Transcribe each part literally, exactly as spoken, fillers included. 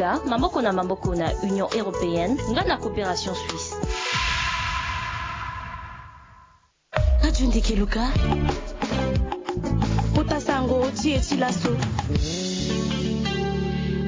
Afrika, maboko na maboko na Union Européenne nga na Coopération Suisse. Radio Ndeke Luka. Kota sango ti e ti laso.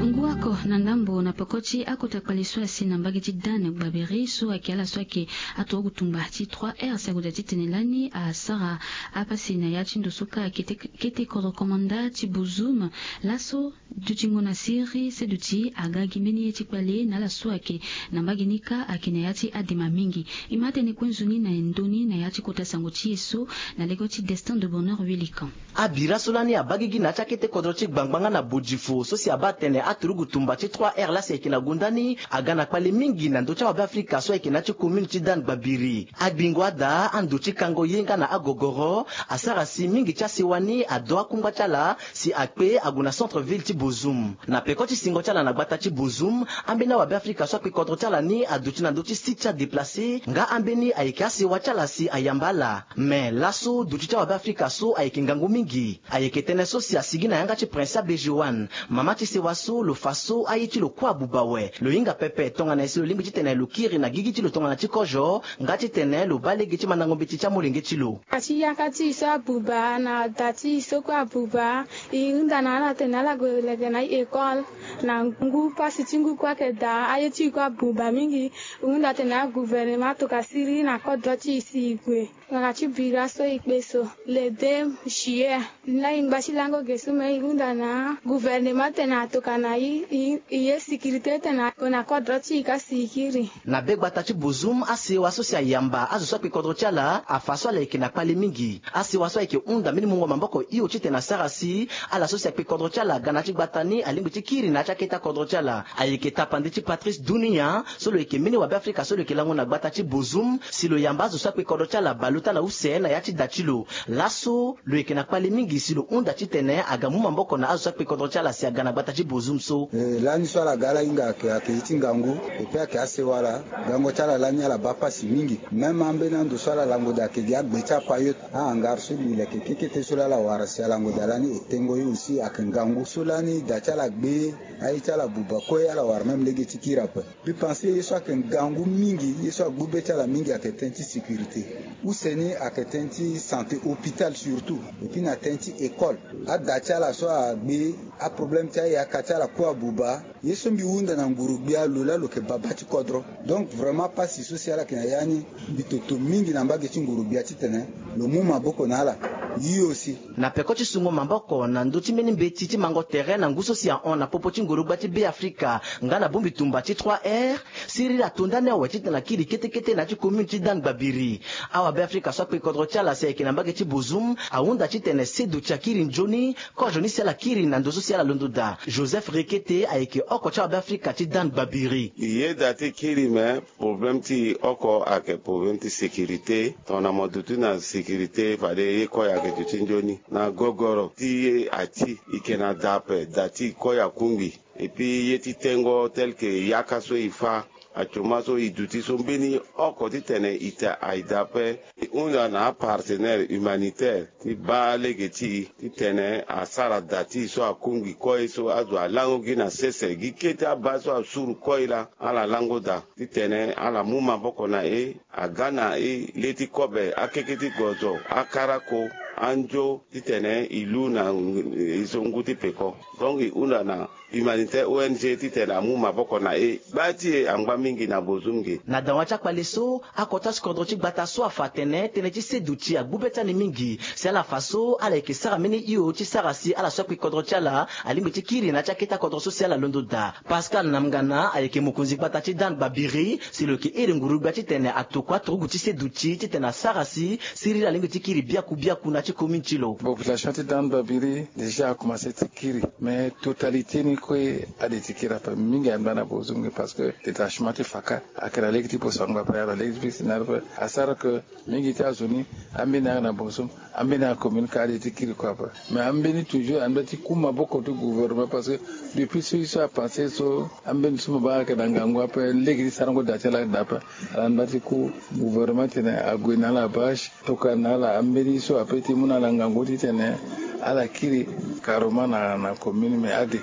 Ngu oko na ndambo na peko ti akota kpale so asi na mbage ti Dan Gbabiri so ayeke ala so ayeke aturugu tumba ti trois R si ague daa titene lani asara apasi na ya ti ndo so ka kete, kete kodro komanda ti Bozoum. Laso dutingo na siriri seduti aga gi mbeni ye ti kpale na ala so ayeke na mbage ni ka ayeke na ya ti adema mingi. E ma tene kue nzoni na ndoni na ya ti kota sango ti e so na lege ti Destin de Bonheur Wilikan. Abira so lani abaa gigi na ya ti akete kodro ti gbangba nga na bodifo so si abaa atene aturugu tumba ti trois R laa si ayeke na gonda ni aga na kpale mingi na ndö ti awabe Afrika so ayeke na ya ti commune ti Dan Gbabiri. Agbingo ada ando ti kango ye nga na agogoro asara si mingi ti asewa ni ado akungba ti ala si akpe ague na centre ville ti Bozoum. Na peko ti singo ti ala na gbata ti Bozoum, ambeni awabe Afrika so akpe kodro ti ala ni aduti na ndö ti site ti adeplace nga ambeni ayeke asewa ti ala si ayamba ala. Me laso duti ti awabe Afrika so ayeke ngangu mingi. Ayeke tënë so si asigi na yanga ti Prince Abé Joanne, mama ti sewa so lo fa so aye ti lo kue abuba awe. Lo hinga pepe tongana nyen si lo lingbi titene lo kiri na gigi ti lo tongana ti kozo nga titene lo baa lege ti mandango mbeti ti amolenge ti lo. Ati yaka ti e so abuba na da ti e so kue abuba. E hunda na ala tene ala gue lege na e école. Na ngu pasi ti ngu kue ayeke daa, aye ti e kue abuba mingi. E hunda tene agouvernement atoka siriri na kodro ti e si e gue. Ngbanga ti bira so e kpe so le deux juillet. Laa e ngba ti lango ge so me e hunda na gouvernement tene atoka na e, e, e ye sécurité tene ague na kodro ti e ka si e kiri. Na be gbata ti Bozoum, asewa so si ayamba azo so akpe kodro ti ala afa so ala yeke na kpale mingi. Asewa so ayeke hunda mbeni mungo maboko hio titene asara si ala so si akpe kodro ti ala aga na ya ti gbata ni alingbi ti kiri na ya ti akete akodro ti ala. Ayeke tapande ti Patrice Dunia so lo yeke mbeni wabe Afrika so lo yeke lango na gbata ti Bozoum si lo yamba azo so akpe kodro ti ala bale ota na use na ya ti da ti lo. Laso lo yeke na kpale mingi si lo hunda titene aga mu maboko na azo so akpe kodro ti ala si aga na gbata ti Bozoum so. Eh, lani so ala ga ala hinga ayeke, ayeke ye ti ngangu. Epui ayeke asewa ala. Gango ti ala lani ala baa pasi mingi. Même ambeni ando so ala lango daa ayeke gi agbe ti apayote, ahangare so gi leke kekete so laa ala wara si alango daa lani e tengo ye aussi ayeke ngangu. So lani da ti ala gbe, aye ti ala buba kue, ala wara même lege ti kiri ape. Mbi pense ye so ayeke ngangu mingi, ye so agbu be ti ala mingi ayeke tënë ti sécurité. Use ni ayeke tënë ti santé, hôpital surtout. Epui na tënë ti école. Ada ti ala so agbe, aproblème ti ayaka ti ala kue abuba. Ye so mbi hunda na nguru-gbia lo laa lo yeke baba ti kodro. Donc vraiment pasi so si ala yeke na ya ni, mbi toto mingi na mbage ti nguru-gbia titene lo mu maboko na ala. Ye aussi. Na peko ti sungo maboko na ndö ti mbeni mbeti ti mango tere na ngu so si ahon na popo ti nguru-gbia ti Beafrika nga na bongbi tumba ti trois R, siriri ato ndani awe titene akiri kete kete na ya ti commune ti Dan Gbabiri. Awabe Afrika so akpe kodro ti ala si ayeke na mbage ti Bozoum ahunda titene seduti akiri nzoni, kozo ni si ala kiri na ndo so si ala londo daa. Joseph Rekete ayeke oko ti awabe Afrika ti Dan Gbabiri. E yeda ti kiri me problème ti e oko ayeke problème ti sécurité. Tongana mo duti na sécurité fade ye kue ayeke duti nzoni. Na gogoro ti ye ati, e yeke na da ape, da ti e kue akungbi. Epui ye ti tengo tel que yaka so e fa, atoma so e duti so mbeni oko titene e ta aye daa ape. E hunda na apartenaire humanitaire ti baa lege ti e titene asara da ti e so akungbi kue so azo alango gi na sese, gi kete abaa so asuru kue laa ala lango daa titene ala mu maboko na e. Aga na e le ti kobe, akeke ti gozo, akarako, anzo titene e lu na e so ngu ti peko. Donc e hunda na humanitaire, O N G, titene amu maboko na e. Gba ti e angba mingi na Bozoum ge. Na dawa ti akpale so, akota ti kodro ti gbata so afa atene tënë ti seduti agbu be ti ani mingi. Si ala fa so ala yeke sara mbeni hio ti sara si ala so akpe kodro ti ala alingbi ti kiri na ya ti akete akodro so si ala londo daa. Pascal Namgana ayeke mokonzi gbata ti Dan Gbabiri, si lo yeke iri nguru-gbia titene atokua turugu ti seduti titene asara si siriri alingbi ti kiri biaku biaku na ya ti commune ti lo. Population ti Dan Gbabiri déjà akomanse ti kiri, mais totalité ni kue ade ti kiri ape. Mingi angba na Bozoum ge parce que détachement ti faka ayeke na lege ti poso angba ape, ayeke na lege ti poso na ape. Asara que mingi ti azo ni, ambeni ayeke na Bozoum, ambeni aye commune ka ade ti kiri kue ape. Mais ambeni toujours angba ti ku maboko ti gouvernement parce que depuis so ye so apanse so, ambeni so mo baa ayeke na ngangu ape, lege ti sarango da ti ala ayeke daa ape. Ala ngba ti ku gouvernement titene ague na ala bâche, tokua na ala ambeni so ape ti mu na ala ngangu titene ala kiri carrément na, na commune, mais ade.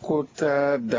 Kota da